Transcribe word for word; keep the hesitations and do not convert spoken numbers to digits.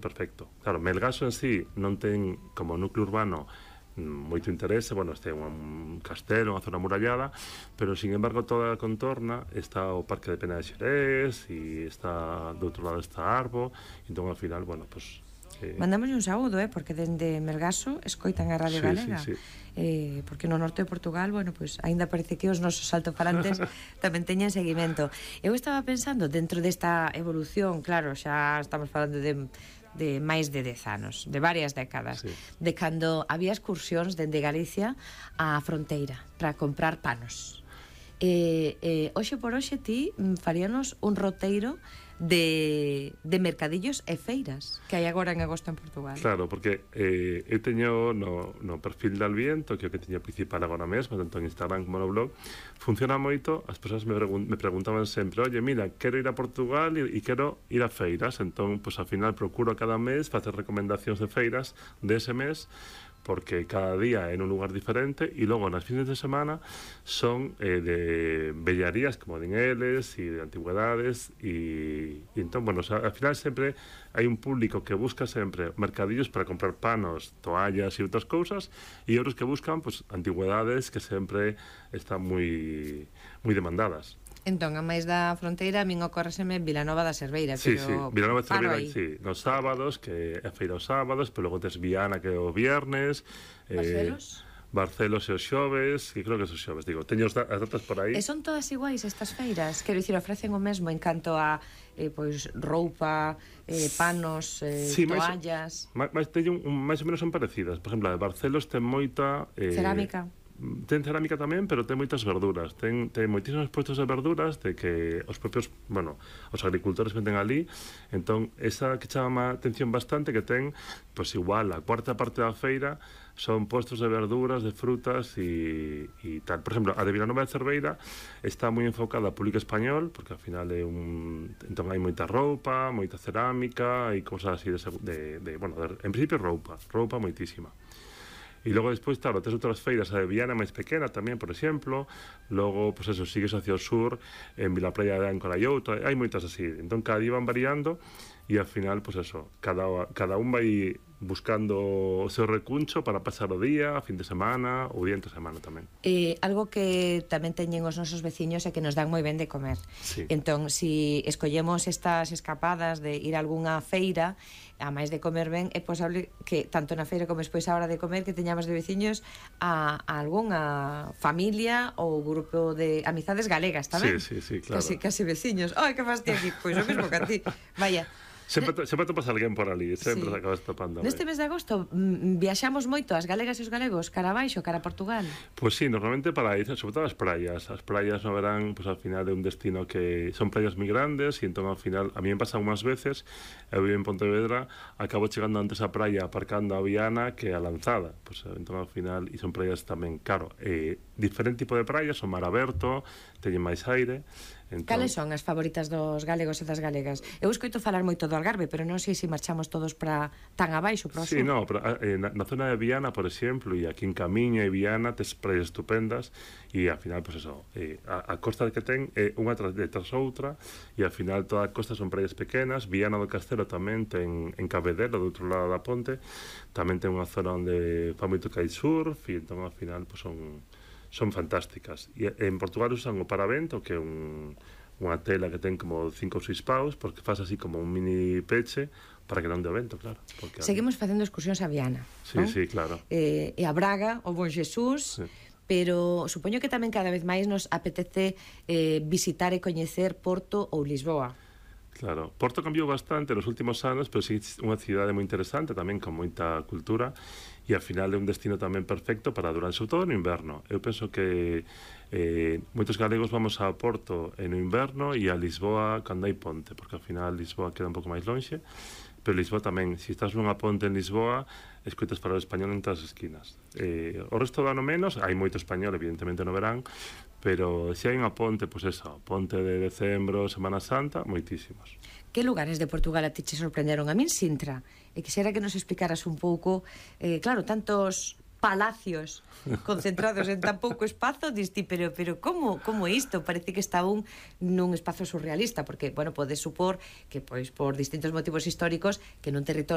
Perfecto. Claro, Melgaso en sí non ten como núcleo urbano moito interese, bueno, este é un castelo, unha zona murallada, pero, sin embargo, toda a contorna está o Parque de Pena de Xerés e está, do outro lado está Arbo, entón, ao final, bueno, pues... Eh... Mandámoslle un saúdo, eh, porque dende Melgaso escoitan a Radio sí, Galega, sí, sí. Eh, porque no norte de Portugal, bueno, pues aínda parece que os nosos altofalantes tamén teñen seguimento. Eu estaba pensando, dentro desta evolución, claro, xa estamos falando de de máis de dez anos, de varias décadas, sí. De cando había excursións dende Galicia á fronteira para comprar panos. E, eh, hoxe por hoxe ti faríanos un roteiro de, de mercadillos e feiras que hai agora en agosto en Portugal. Claro, porque eh, eu teño no, no perfil de Alviento, que é o que teño principal agora mesmo, tanto en Instagram como no blog, funciona moito, as persoas me, pregun me preguntaban sempre, oye, mira, quero ir a Portugal e, e quero ir a feiras, entón, pues, ao final procuro cada mes facer recomendacións de feiras de ese mes, porque cada día en un lugar diferente e logo nas fines de semana son eh, de bellarías como din eles e de antigüedades e, e entón, bueno, o sea, al final sempre hai un público que busca sempre mercadillos para comprar panos, toallas e outras cousas e outros que buscan, pues, antigüedades que sempre están moi moi demandadas. Entón, a máis da fronteira, a min ocórreseme Vilanova da Cerveira, sí, pero sí, Vilanova da Cerveira, aí. sí, nos sábados, que é a feira os sábados, pero logo tes Viana, que é o viernes, Barcelos? Eh, Barcelos e os xoves, e creo que é os xoves, digo, teño as datas por aí. E son todas iguais estas feiras? Quero dicir, ofrecen o mesmo en canto a eh, pois, roupa, eh, panos, eh, sí, toallas... Máis, máis, teño un, máis ou menos son parecidas. Por exemplo, a de Barcelos ten moita... Eh, cerámica. Ten cerámica tamén, pero ten moitas verduras. Ten, ten moitísimos puestos de verduras de que os propios, bueno, os agricultores venden ali. Entón, esa que chama a atención bastante, que ten, pois igual, a cuarta parte da feira son puestos de verduras, de frutas e, e tal. Por exemplo, a de Vilanova de Cerveira está moi enfocada ao público español, porque ao final é un... Entón hai moita roupa, moita cerámica e cosas así de, de, de bueno, de, en principio roupa, roupa moitísima. E logo despois, claro, tes outras feiras, a de Viana máis pequena tamén, por exemplo. Logo, pois eso, sigues hacia o sur, en Vilaplaya de Áncola e outra, hai moitas así. Entón, cada día van variando e ao final, pois eso, cada, cada un vai buscando o seu recuncho para pasar o día, a fin de semana ou día entre semana tamén. Eh, algo que tamén teñen os nosos veciños é que nos dan moi ben de comer. Sí. Entón, si escollemos estas escapadas de ir a algunha feira, a máis de comer ben, é posible que tanto na feira como despois a hora de comer que teñamos de veciños a, a algunha familia ou grupo de amizades galegas, tamén? Sí, sí, sí, claro. Casi, casi veciños. Ai, que fas ti aquí? Pois o mesmo que a ti. Vaya. Sempre, sempre topas alguén por ali, sempre sí. Acabas topando. Neste mes de agosto mm, viaxamos moito as galegas e os galegos cara abaixo, cara a Portugal. Pois pues sí, normalmente para ir, sobre todo as praias. As praias no verán, pues, al final é un destino que son praias moi grandes e entón ao final, a mí me pasa unhas veces, eu vivo en Pontevedra, acabo chegando antes a praia aparcando a Viana que a Lanzada. Pues, entón ao final, e son praias tamén, claro, eh, diferente tipo de praias, son mar aberto, teñen máis aire. Entón... Cales son as favoritas dos galegos e das galegas? Eu escoito falar moito do Algarve, pero non sei se marchamos todos para tan abaixo, para o sur. Sí, no, pero, eh, na, na zona de Viana, por exemplo, e aquí en Camiña e Viana tes praias estupendas e ao final, pues eso, eh, a, a costa que ten é unha tras, tras outra e ao final toda a costa son praias pequenas. Viana do Castelo tamén ten en Cabedelo, do outro lado da ponte, tamén ten unha zona onde fa moito kitesurf e entón ao final, pues son... son fantásticas. E en Portugal usan o paravento, que é un, unha tela que ten como cinco ou seis paus, porque faz así como un mini peche para que non de vento, claro. Porque seguimos facendo excursións a Viana, sí, ¿no? Sí, claro. Eh, e a Braga, o Bon Jesús, sí. Pero supoño que tamén cada vez máis nos apetece eh, visitar e coñecer Porto ou Lisboa. Claro, Porto cambiou bastante nos últimos anos, pero sí unha cidade moi interesante, tamén con moita cultura, e ao final é un destino tamén perfecto para durante, sobre todo no inverno. Eu penso que eh, moitos galegos vamos a Porto no inverno e a Lisboa cando hai ponte, porque ao final Lisboa queda un pouco máis lonxe, pero Lisboa tamén, se estás nunha ponte en Lisboa, escoitas falar español en todas as esquinas. Eh, o resto do ano menos, hai moito español, evidentemente no verán, pero se hai unha ponte, pois pues eso, ponte de decembro, Semana Santa, moitísimos. Que lugares de Portugal a ti che sorprenderon? A min Sintra, e quixera que nos explicaras un pouco, eh, claro, tantos palacios concentrados en tan pouco espazo, diste, pero pero como como isto? Parece que está un nun espazo surrealista, porque, bueno, podes supor que, pois, por distintos motivos históricos, que nun territorio